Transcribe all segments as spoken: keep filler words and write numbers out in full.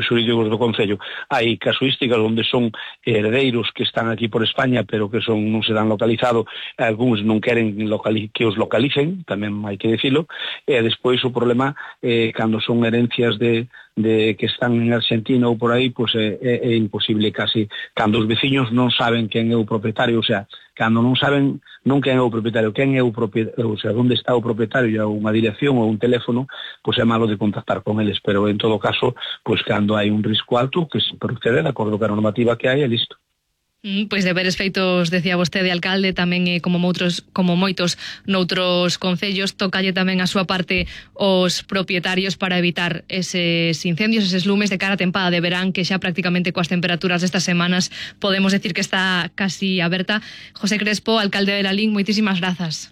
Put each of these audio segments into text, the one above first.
xurídicos do Concello. Hai casuísticas onde son herdeiros que están aquí por España, pero que son non se dan localizado, algúns non queren locali que os localicen, tamén hai que dicilo, e despois o problema, eh, cando son herencias de, de que están en Argentina ou por aí, pois é, é, é imposible casi, cando os veciños non saben quen é o propietario, o sea, cando non saben non quen é o propietario, quen é o propietario, o sea, onde está o propietario, e unha dirección ou un teléfono, pois é malo de contactar con eles, pero en todo caso, pois cando hai un risco alto, que se procede de acordo ca normativa que hai, é listo. Mm, pois deberes feitos, decía vostede, alcalde, tamén eh, como moutros, como moitos noutros concellos, tocalle tamén a súa parte os propietarios para evitar eses incendios, eses lumes de cara a tempada de verán, que xa prácticamente coas temperaturas destas semanas podemos decir que está casi aberta. José Crespo, alcalde de Lalín, moitísimas grazas.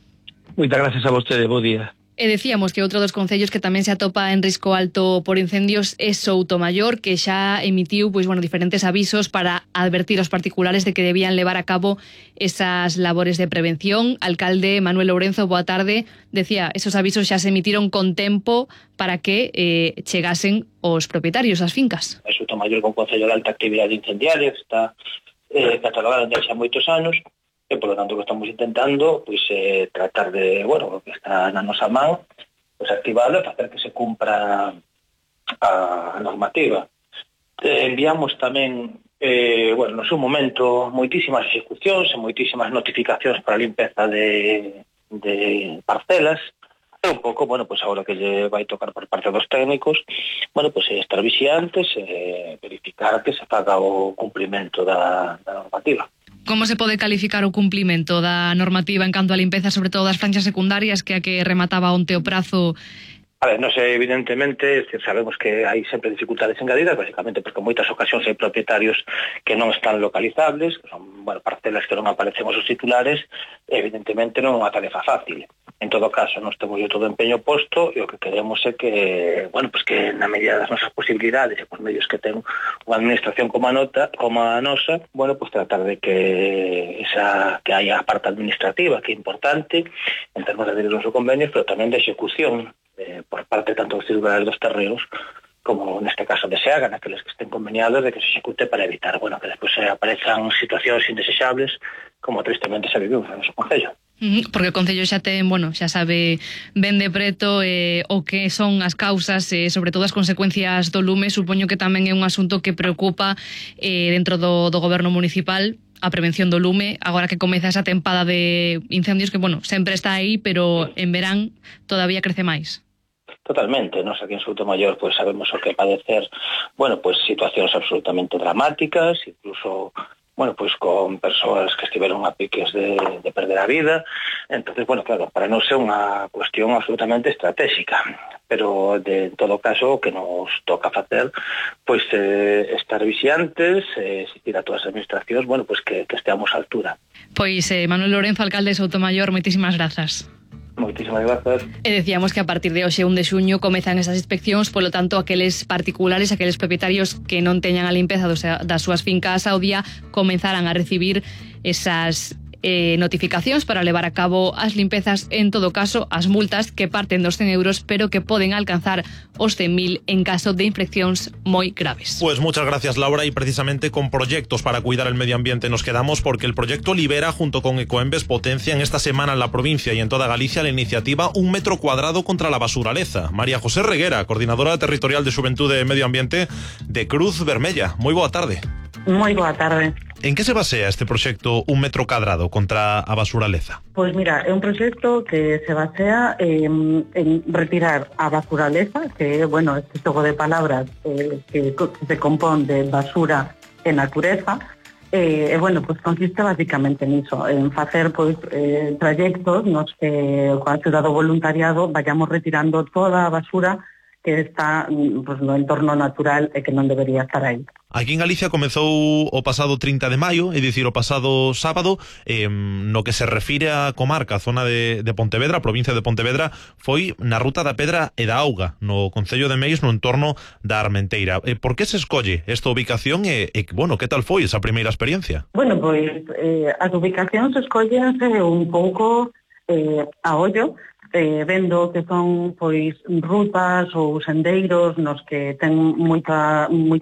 Moitas gracias a vostede, bo día. E decíamos que outro dos concellos que tamén se atopa en risco alto por incendios é Soutomaior, que xa emitiu pois bueno, diferentes avisos para advertir aos particulares de que debían levar a cabo esas labores de prevención. Alcalde Manuel Lourenzo, boa tarde. Decía, esos avisos xa se emitiron con tempo para que eh, chegasen os propietarios ás fincas. Soutomaior é un concello de alta actividade incendiaria, que está eh, catalogado desde xa moitos anos, e, por lo tanto, que estamos intentando pois, eh, tratar de, bueno, que está na nosa man, pois, activado e facer que se cumpra a normativa. Eh, enviamos tamén, eh, bueno, no seu momento, moitísimas execucións e moitísimas notificacións para a limpeza de, de parcelas, e un pouco, bueno, pois agora que lle vai tocar por parte dos técnicos, bueno, pois estar vixiantes e verificar que se faga o cumprimento da, da normativa. Como se pode calificar o cumplimento da normativa en canto a limpeza, sobre todo das franxas secundarias, que a que remataba onte o prazo? A ver, non sei, evidentemente, sabemos que hai sempre dificultades engadidas, basicamente porque en moitas ocasións hai propietarios que non están localizables, que son, bueno, parcelas que non aparecen os titulares, evidentemente non é unha tarefa fácil. En todo caso, nós temos todo o empeño posto e o que queremos é que, bueno, pues que na medida das nosas posibilidades e por medios que ten unha administración como a, nota, como a nosa, bueno, pues tratar de que esa que haya a parte administrativa, que é importante, en termos de adherir aos convenios, pero tamén de execución eh, por parte tanto dos titulares dos terreos como neste caso de SEAGA, naqueles que estén conveniados de que se execute para evitar, bueno, que despois aparezcan situacións indeseables como tristemente se viviu no noso concello. Porque o Concello xa ten, bueno, xa sabe ben de preto eh, o que son as causas e eh, sobre todo as consecuencias do lume. Supoño que tamén é un asunto que preocupa eh, dentro do, do goberno municipal, a prevención do lume, agora que comeza esa tempada de incendios que, bueno, sempre está aí, pero en verán todavía crece máis. Totalmente, nos aquí en Soutomaior pues sabemos o que padecer, bueno, pues situacións absolutamente dramáticas, incluso bueno, pues con persoas que estiveron a piques de, de perder a vida. Entonces, bueno, claro, para nós é unha cuestión absolutamente estratégica, pero de en todo caso o que nos toca facer pois pues, eh, estar vixiantes, eh, exigir a todas as administracións, bueno, pues que, que esteamos á altura. Pois eh, Manuel Lourenzo, alcalde de Soutomaior, moitísimas grazas. Moitísimas grazas. E decíamos que a partir de hoxe, un de xuño, comezan esas inspeccións, polo tanto, aqueles particulares, aqueles propietarios que non teñan a limpeza dos, das súas fincas ao día, comenzarán a recibir esas eh, notificacións para levar a cabo as limpezas, en todo caso, as multas que parten dos cen euros, pero que poden alcanzar os cen mil en caso de infraccións moi graves. Pues muchas gracias, Laura, y precisamente con proyectos para cuidar el medio ambiente nos quedamos, porque el proyecto Libera, junto con Ecoembes, potencian esta semana en la provincia y en toda Galicia la iniciativa Un Metro Cuadrado contra la Basuraleza. María José Reguera, coordinadora territorial de Xuventude e Medio Ambiente de Cruz Vermella. Moi boa tarde. Moi boa tarde. En que se basea este proxecto Un Metro Cadrado contra a basuraleza? Pois mira, é un proxecto que se basea en, en retirar a basuraleza, que é, bueno, este xogo de palabras eh, que, que se compón de basura e natureza, e, eh, bueno, pues consiste basicamente niso, en facer pois eh, trayectos nos que coa axuda do voluntariado vayamos retirando toda a basura que está pues, no entorno natural e que non debería estar aí. Aquí en Galicia comezou o pasado trinta de maio, é dicir, o pasado sábado, eh, no que se refire á comarca, a zona de, de Pontevedra, a provincia de Pontevedra, foi na Ruta da Pedra e da Auga, no Concello de Meis, no entorno da Armenteira. Eh, por que se escolle esta ubicación e, e, bueno, que tal foi esa primeira experiencia? Bueno, pois, eh, as ubicacións escollense un pouco eh, a ollo, eh, vendo que son pois rutas ou sendeiros nos que ten moita, moita